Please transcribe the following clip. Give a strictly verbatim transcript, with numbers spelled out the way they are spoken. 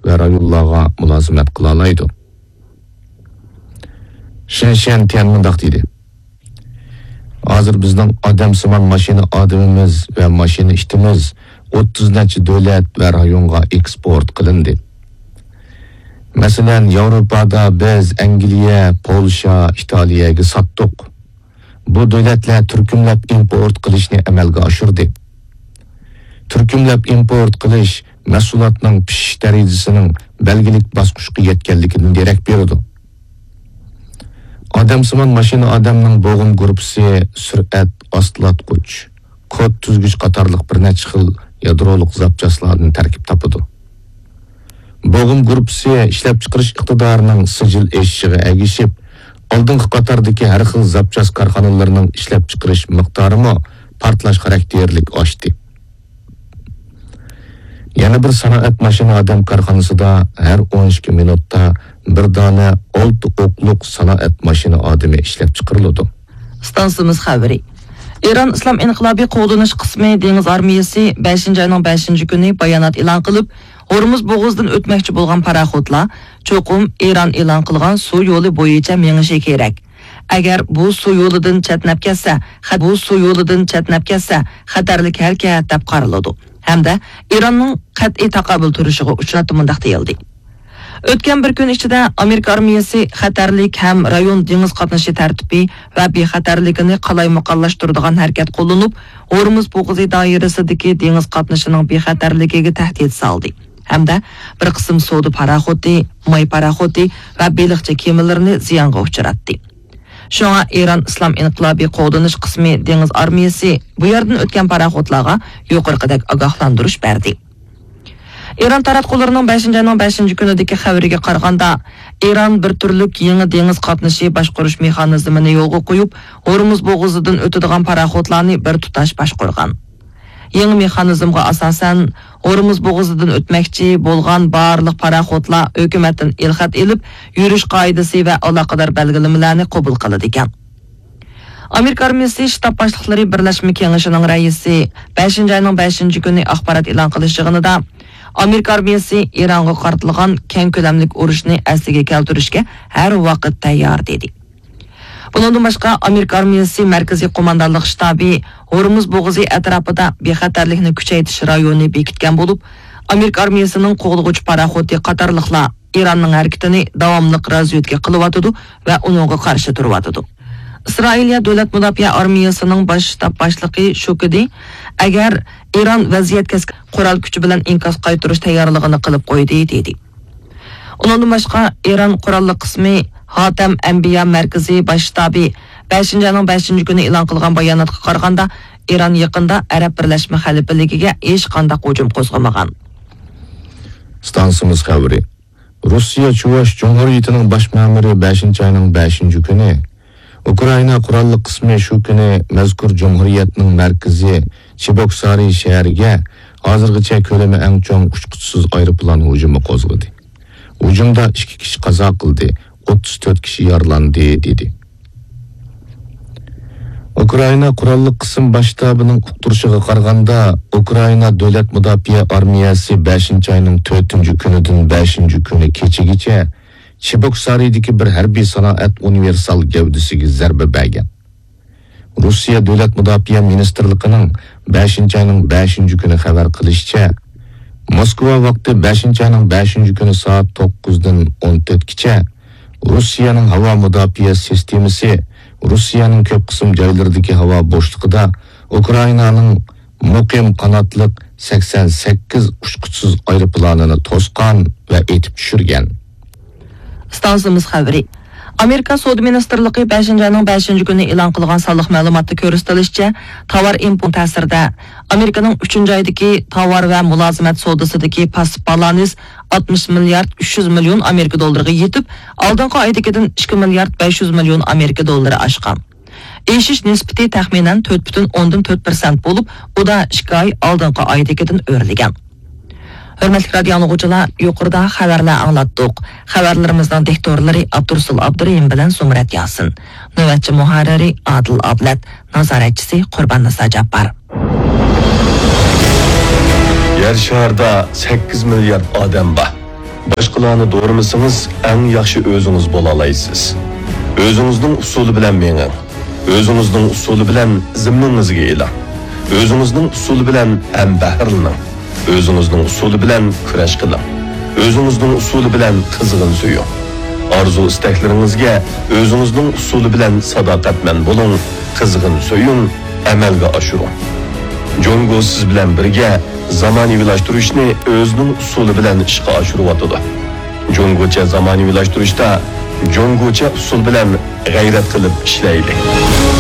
ۋە رايونلارغا مۇلازىمەت قىلالايدۇ. شېن شيەنتيەن مۇنداق دېدى: ھازىر بىزنىڭ ئادەمسىمان ماشىنا ئادىمىمىز ۋە ماشىنا ئىتىمىز ئوتتۇز نەچچە دۆلەت ۋە رايونغا ئېكسپورت قىلىندى. مەسىلەن، ياۋروپادا بىز ئەنگلىيە، پولشا، ئىتالىيەگە ساتتۇق. بۇ دۆلەتلەر تۈركۈملەپ ئىمپورت قىلىشنى ئەمەلگە ئاشۇردى. تۈركۈملەپ ئىمپورت قىلىش مەھسۇلاتنىڭ پىشىش دەرىجىسىنىڭ بەلگىلىك باسقۇچقا يەتكەنلىكىدىن دېرەك بېرىدۇ. ئادەمسىمان ماشىنا ئادەمنىڭ بوغۇم گۇرۇپپىسى سۈرئەت ئاستىلاتقۇچ، كود تۈزگۈچ قاتارلىق بىر نەچچە خىل يادرولۇق زاپچاسلاردىن تەركىب تاپىدۇ. بوغۇم گۇرۇپپىسى ئىشلەپچىقىرىش ئىقتىدارىنىڭ سىجىل ئېشىشىغا ئەگىشىپ، ئالدىنقى قاتاردىكى ھەر خىل زاپچاس كارخانىلىرىنىڭ ئىشلەپچىقىرىش مىقدارىمۇ پارتلاش خاراكتېرلىك ئاشتى. يەنە بىر سانائەت ماشىنا ئادەم كارخانىسىدا ھەر ئون ئىككى مىنۇتتا بىر دانە ئالتە ئوقلۇق سانائەت ماشىنا ئادىمى ئىشلەپچىقىرىلىدۇ. ئىستانسىمىز خەۋىرى. ئىران ئىسلام ئىنقىلابى قوغدىنىش قىسمى دېڭىز ئارمىيەسى بەشىنچى ئاينىڭ بەشىنچى كۈنى بايانات ئېلان قىلىپ، ھورمۇز بوغۇزىدىن ئۆتمەكچى بولغان پاراخوتلار چوقۇم ئىران ئېلان قىلغان سۇ يولى بويىچە مېڭىشى كېرەك. ئەگەر بۇ سۇ يولىدىن چەتنەپ كەتسە، خەت-، بۇ سۇ يولىدىن چەتنەپ كەتسە، خەتەرلىك ھەرىكەت دەپ قارىلىدۇ ھەمدە ئىراننىڭ قەتئىي تاقابىل تۇرۇشىغا ئۇچرايدۇ مۇنداق دېيىلدى. ئۆتكەن بىر كۈن ئىچىدە ئامېرىكا ئارمىيەسى خەتەرلىك ھەم رايون دېڭىز قاتنىشى تەرتىپى ۋە بىخەتەرلىكىنى قالايمىقانلاشتۇرىدىغان ھەرىكەت قوللىنىپ، ھورمۇز بوغۇزى دائىرىسىدىكى دېڭىز قاتنىشىنىڭ بىخەتەرلىكىگە تەھدىت سالدى ھەمدە بىر قىسىم سودا پاراخوتى، ماي پاراخوتى ۋە بېلىقچى كېمىلىرىنى زىيانغا ئۇچراتتى. شۇڭا ئىران ئىسلام ئىنقىلابى قوغدىنىش قىسمى دېڭىز ئارمىيەسى بۇ يەردىن ئۆتكەن پاراخوتلارغا يۇقىرىقىدەك ئاگاھلاندۇرۇش بەردى. ئىران تاراتقۇلىرىنىڭ بەشىنچى ئاينىڭ بەشىنچى كۈنىدىكى خەۋىرىگە قارىغاندا، ئىران بىر تۈرلۈك يېڭى دېڭىز قاتنىشى باشقۇرۇش مېخانىزمىنى يولغا قويۇپ، ھورمۇز بوغۇزىدىن ئۆتىدىغان پاراخوتلارنى بىر تۇتاش باشقۇرغان. يېڭى مېخانىزمغا ئاساسەن، ھورمۇز بوغۇزىدىن ئۆتمەكچى بولغان بارلىق پاراخوتلار ھۆكۈمەتتىن ئېلخەت ئېلىپ، يۈرۈش قائىدىسى ۋە ئالاقىدار بەلگىلىمىلەرنى قوبۇل قىلىدىكەن. ئامېرىكا ئارمىيەسى شتاب باشلىقلىرى بىرلەشمە كېڭىشىنىڭ رەئىسى بەشىنچى ئاينىڭ بەشىنچى كۈنى ئاخبارات ئېلان قىلىش يىغىنىدا، ئامېرىكا ئارمىيەسى ئىرانغا قارىتىلغان كەڭ كۆلەملىك ئۇرۇشنى ئەسلىگە كەلتۈرۈشكە ھەر ۋاقىت تەييار، دېدى. بۇنىڭدىن باشقا، ئامېرىكا ئارمىيەسى مەركىزىي قوماندانلىق شتابى ھورمۇز بوغۇزى ئەتراپىدا بىخەتەرلىكنى كۈچەيتىش رايونى بېكىتكەن بولۇپ، ئامېرىكا ئارمىيەسىنىڭ قوغدىغۇچى پاراخوتى قاتارلىقلار ئىراننىڭ ھەرىكىتىنى داۋاملىق رازۋېدكا قىلىۋاتىدۇ ۋە ئۇنىڭغا قارشى تۇرۇۋاتىدۇ. ئىسرائىلىيە دۆلەت مۇداپىئە ئارمىيەسىنىڭ باش شتاب باشلىقى شۇكىدى، ئەگەر ئىران ۋەزىيەتكە قورال كۈچى بىلەن ئىنكاس قايتۇرۇش تەييارلىقىنى قىلىپ قويدى، دېدى. ئۇنىڭدىن باشقا، ئىران قوراللىق قىسمى ھاتەم ئەنبىيا مەركىزىي باش شتابى بەشىنچى ئاينىڭ بەشىنچى كۈنى ئېلان قىلغان باياناتقا قارىغاندا، ئىران يېقىندا ئەرەب بىرلەشمە خەلىپىلىكىگە ھېچقانداق ھۇجۇم قوزغىمىغان. ئىستانسىمىز خەۋىرى. روسىيە چۇۋاش جۇمھۇرىيىتىنىڭ باش مەمۇرى بەشىنچى ئاينىڭ بەشىنچى كۈنى ئۇكرائىنا قوراللىق قىسمى شۇ كۈنى مەزكۇر جۇمھۇرىيەتنىڭ مەركىزى چىبوكسارى شەھىرىگە ھازىرغىچە كۆلىمى ئەڭ چوڭ ئۇچقۇچىسىز ئايروپىلان ھۇجۇمى قوزغىدى. ھۇجۇمدا ئىككى كىشى قازا قىلدى، ئوتتۇز تۆت كىشى يارىلاندى، دېدى. ئۇكرائىنا قوراللىق قىسىم باش شتابىنىڭ ئۇقتۇرۇشىغا قارىغاندا، ئۇكرائىنا دۆلەت مۇداپىئە ئارمىيەسى بەشىنچى ئاينىڭ تۆتىنچى كۈنىدىن بەشىنچى كۈنى كېچىگىچە چىبوكسارىدىكى بىر ھەربىي سانائەت ئۇنىۋېرسال گەۋدىسىگە زەربە بەرگەن. روسىيە دۆلەت مۇداپىئە مىنىستىرلىقىنىڭ بەشىنچى ئاينىڭ بەشىنچى كۈنى خەۋەر قىلىشىچە، موسكۋا ۋاقتى بەشىنچى ئاينىڭ بەشىنچى كۈنى سائەت توققۇزدىن ئون تۆتكىچە روسىيەنىڭ ھاۋا مۇداپىئە سىستېمىسى روسىيەنىڭ كۆپ قىسىم جايلىرىدىكى ھاۋا بوشلۇقىدا ئۇكرائىنانىڭ مۇقىم قاناتلىق سەكسەن سەككىز ئۇچقۇچىسىز ئايروپىلانىنى توسقان ۋە ئېتىپ چۈشۈرگەن. ئىستانسىمىز خەۋىرى. ئامېرىكا سودا مىنىستىرلىقى بەشىنچى ئاينىڭ بەشىنچى كۈنى ئېلان قىلغان سانلىق مەلۇماتتا كۆرسىتىلىشىچە، تاۋار ئىمپورت تەسىرىدە ئامېرىكىنىڭ ئۈچىنچى ئايدىكى تاۋار ۋە مۇلازىمەت سودىسىدىكى پاسسىپ بالانس ئاتمىش مىليارد ئۈچ يۈز مىليون ئامېرىكا دوللىرىغا يېتىپ، ئالدىنقى ئايدىكىدىن ئىككى مىليارد بەش يۈز مىليون ئامېرىكا دوللىرى ئاشقان. ئېشىش نىسبىتى تەخمىنەن تۆت پۈتۈن ئوندىن تۆت پىرسەنت بولۇپ، ئۇ دا ئىككى ئاي ئالدىنقى ئايدىكىدىن ئۆرلىگەن. ھۆرمەتلىك رادىيو ئاڭلىغۇچىلار، يۇقىرىدا خەۋەرلەر ئاڭلاتتۇق. خەۋەرلىرىمىزنىڭ دىكتورلىرى ئابدۇرۇسۇل ئابدۇرېھىم بىلەن زۇمرەت ياسىن. نۆۋەتچى مۇھەررىرى ئادىل ئابلەت. نازارەتچىسى قۇرباننىسا جاپپار. يەر شارىدا سەككىز مىليارد ئادەم بار. باشقىلارنى دورىمىسىڭىز، ئەڭ ياخشى ئۆزىڭىز بولالايسىز. ئۆزىڭىزنىڭ ئۇسۇلى بىلەن مېڭىڭ. ئۆزىڭىزنىڭ ئۇسۇلى بىلەن زىممىڭىزگە ئېلىڭ. ئۆزىڭىزنىڭ ئۇسۇلى بىلەن ھەمبەھىرلىنىڭ. ئۆزىڭىزنىڭ ئۇسۇلى بىلەن كۈرەش قىلىڭ. ئۆزىڭىزنىڭ ئۇسۇلى بىلەن قىزغىن سۆيۈڭ. ئارزۇ-ئىستەكلىرىڭىزگە ئۆزىڭىزنىڭ ئۇسۇلى بىلەن ساداقەتمەن بولۇڭ، قىزغىن سۆيۈڭ، ئەمەلگە ئاشۇرۇڭ. جۇڭگو سىز بىلەن بىرگە زامانىۋىلاشتۇرۇشنى ئۆزىنىڭ ئۇسۇلى بىلەن ئىشقا ئاشۇرۇۋاتىدۇ. جۇڭگوچە زامانىۋىلاشتۇرۇشتا جۇڭگوچە ئۇسۇل بىلەن غەيرەت قىلىپ ئىشلەيلى.